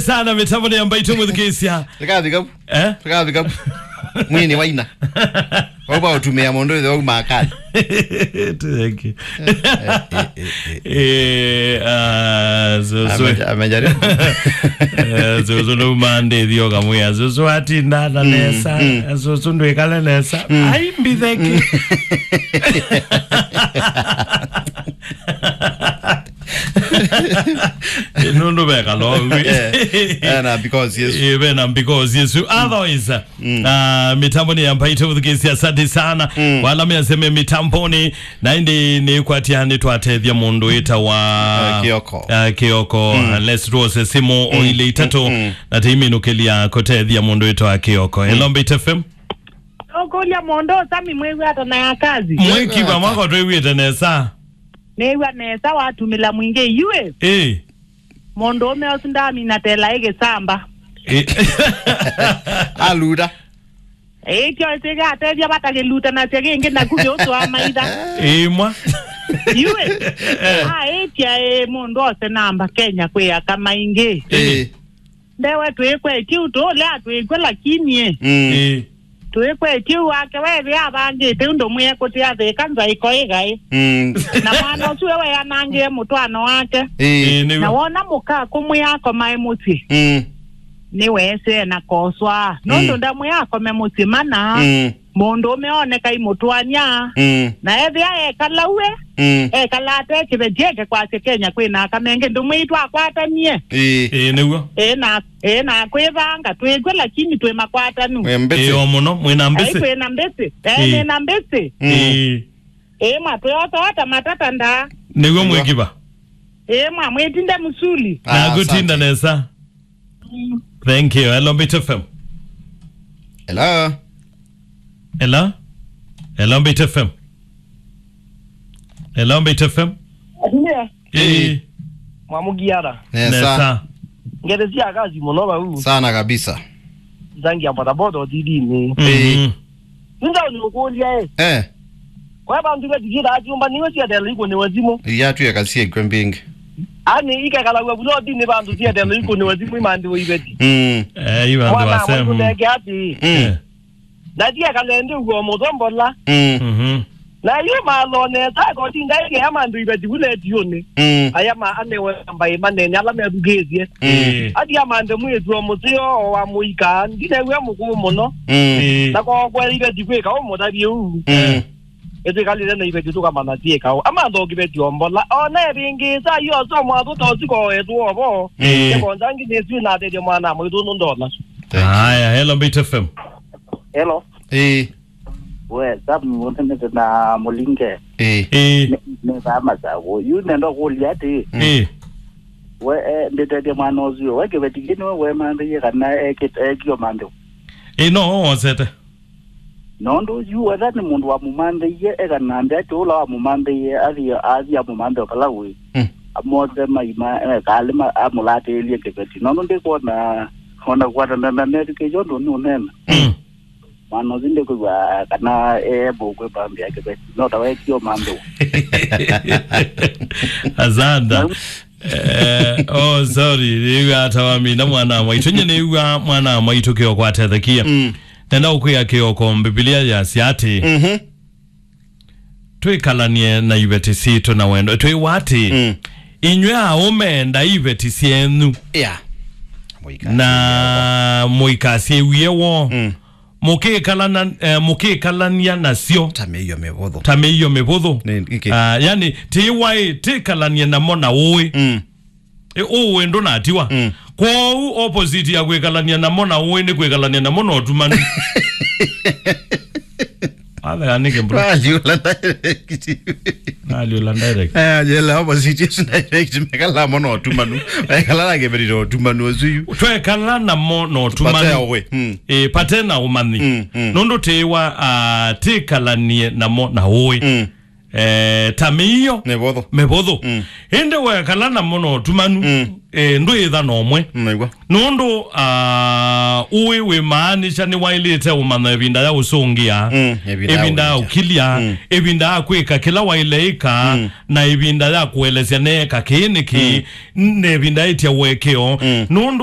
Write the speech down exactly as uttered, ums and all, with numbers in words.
Sana mĩtambo nĩ ya Mbaitũ mũthikĩĩsya. Tũkavika vu. Eh? Tũkavika vu. Mwini waina. Wauva ũtumĩa mũndũ ĩthe wau makali. Thank you. Eh, ah, so, so. Ameja-, amejaribu. Eh, so, so, no mande thio kamwe. So, so, atinda na nesa. Mm. So, so, ndwĩkale nesa. Mm. Ai, mbitheki. Nũndũ vekala ũu. Eh, eh, na because Yesu. Eh, ve na because Yesu. Otherwise, mm, ah, mĩtambo nĩ ya Mbaitũ mũthikĩĩsya, asante sana. Mm. Wala measeme mĩtamboni, na ĩndĩ nĩkwatya nĩtwatethya mũndũ wĩtawa, ah, Kĩoko. Ah, Kĩoko. Mm. Let's rose simu o ile itatu, mm, mm, na teiminũkĩlya kũtethya mũndũ wĩtawa Kĩoko. Mm. Hello, Mbaitũ F M. Ũkũlya mũndũ Sami mwĩw'a ata na ya kazi? Mwĩkiva mwako twĩw'ĩte nesa. Nĩw'a nesa watumĩla mwingĩ yue. Eh. Mũndũ ũme ũsu ndamina tela ĩgĩsamba. Eh. Aluta. Ĩkyo ĩsĩga atethya vatakĩluta nasya kĩngĩ naku kĩũtwaa maitha. Ĩmwa. Yue. Eh. Aĩtya ĩ mũndũ ose namba Kenya kwĩ aka maingĩ. Eh. Ndewe twĩkwetye ũtũũlea twĩkw'a lakini ĩ. Mm. Ĩĩ. Twĩkwetye wake wethĩa avangĩte ũndũ mwĩe kũtĩa thĩka nzaĩko ĩgaĩ. Mm. Na mwana ũsu we weanangĩe mũtwano wake. Ĩĩ. Ĩĩ, nĩw'o. Na wona mũka kũmwĩa akomae mũsyĩ. Mm. Nĩweesee na koswa. Nũndũ, mm, ndamwĩa akome mũsyĩ mana. Mm. Mũndũũme ooneka imũtwany'a. Mm. Na ethĩa ekala we, mm, ekala ate kĩveti eke kwasya Kenya kwĩ na aka mengĩ ndũmwĩi twakwatanie. Ĩĩ. Ĩĩ, nĩw'o. Ĩĩ, na, ĩĩ, na kwĩvanga twĩkw'e lakini twĩ makwatanu. Mwĩ mbĩsĩ. Ĩĩ, o mũno, mwĩ na mbĩsĩ. Ai, kwĩ na mbĩsĩ. Ĩĩ, ĩĩ, nĩ na mbĩsĩ. Mm. Ĩĩ. Ĩĩ, mwa twĩotoa ta matata ndaa. Nĩw'o. Nĩw'o. Mwĩkiva. Ĩĩ, mwa mwĩtinde mũsuli. Ah, naku tinda asante. Nesa. Thank you. Hello, Mbaitũ F M. Hello. Hello? Hello, Mbaitũ F M. Hello, Mbaitũ F M. Atumia. Eh. Mwamugiara. Nesa. Nesa. Ngete cia kazi mũno vau. Sana kabisa. Nzangi ya bodaboda ũtidini. Mhm. Eh. Nĩnda ũnĩũkũlya, eh. Eh. Kwa vandũ ve tikita akyumba niwe siatela ikũnĩwe simũ. Iyatwĩka syĩkw'e mbingĩ. Ani ikekalaw'a vulotinĩ vandũ siatela ikũnĩwe simũ imandĩwe iveti. Mm. Eh, i vandũ. Mwana wasema. Mwaitũ neke ati. Mm. Eh. Na tiekale ndi uo mũthombola. Mm. Mhm. Na yu malo nesa kotinda ikea mandũ iveti vuletiũnĩ. Mm. Aya ma anewe mbai manene ala methukĩĩsye. Mm. Eh. Ati amanthe mwĩĩtu o mũseo o wa mũika, ndinew'a mũkũũ mũno. Mm. Eh. Na kokwela iveti kwĩka ũmũtavye ũu. Mm. Ĩtwĩkalĩle na iveti tũkamanya syĩkaũ. Amantha o kĩveti o mbola. Ona ĩvĩngĩĩsa yoso mwatũ ta ũsiko etũ ovo. Mm. Nĩkonza ngi nĩsui natethya mwana mwaitũ nũndola. Thank you. Aya, hello, Mbaitũ F M. Hello. Eh. We, Sam, ũnenete na Mũlinge. Eh. Eh. Nĩ, nĩ vaa Masavu. Yu nenda kũlya atĩ. Mm. Eh. We, eh, ndĩtethya mwana ũsu. We kĩveti kĩ nĩwe wemanthaie kana ekĩte, ekio manthe? Eh, no, wosete. Nũndũ yu wetha nĩ mũndũ wamũmanthĩie, ekanambĩa atĩ ũla wamũmanthĩie athi, athi amũmanthe o vala ũĩ. Mm. Amose maima, eh, kalĩ ma-, amũlatĩĩlye kĩveti. Nũndũ ndĩkwona, ona kwatana na methukĩĩsya ũndũ nũneena. Mm. Mwana ũsu ndĩkwĩw'a kana e able kwĩvambĩa kĩveti. No ta wetie ũmanthĩwa. Asante. Na Eh, oh, sorry, nĩw'a ata wamina mwana wa mwaitũ. Nye nĩw'a mwana wa mwaitũ Kĩoko atethekia. Mm. Nenda ũkwĩa Kĩoko, Mbivilia yasya atĩ, mhm, twĩkalanie na iveti sitũ na wendo. Twĩwa atĩ, mm, inyw'ĩ aũme endai iveti syenyu. Yeah. Na mũikasyĩwie woo. Mm. Mũkĩkalana, eh, mũkĩkalania nasyo ta mĩio mĩvũthũ. Ta mĩio mĩvũthũ. Nĩ, nĩkĩ? Ah, yani, tiwaĩ, tĩkalanie namo na ũĩ. Mm. Ĩ, ũĩ ndũnatiwa. Mm. Kwoou opposite ya kwĩkalania namo na ũĩ nĩ kwĩkalania namo na ũtumanu. Watheka nĩkĩ, bro? Naliũla direct. Naliũla direct. Eh, yela opposite is direct. Mekala mo na ũtumanu. Mekala na kĩveti na ũtumanu ũsu yu. Twekala namo na ũtumanu. Pate ũĩ. Mm. Eh, pate na ũmanyi. Mm, mm. Nũndũ tĩwa, ah, tĩkalanie namo na ũĩ. Mm. Eh, ta mĩio. Mĩvũthũ. Mĩvũthũ. Mm. Ĩndĩ wekala namo na ũtumanu, mm, eh, ndwĩtha na ũmwe. Mm, naigua. Nũndũ, ah, ũĩ wĩmaanisha nĩwaĩlĩte ũmanya ĩvinda ya ũsũngĩa, mm, ĩvinda ya ũkilya, mm, ĩvinda ya kwĩka kĩla waĩle ĩka, mm, na ĩvinda ya kũelesya neeka kĩĩ nĩkĩ, mm, na ĩvinda ĩtya ũekeo. Mm. Nũndũ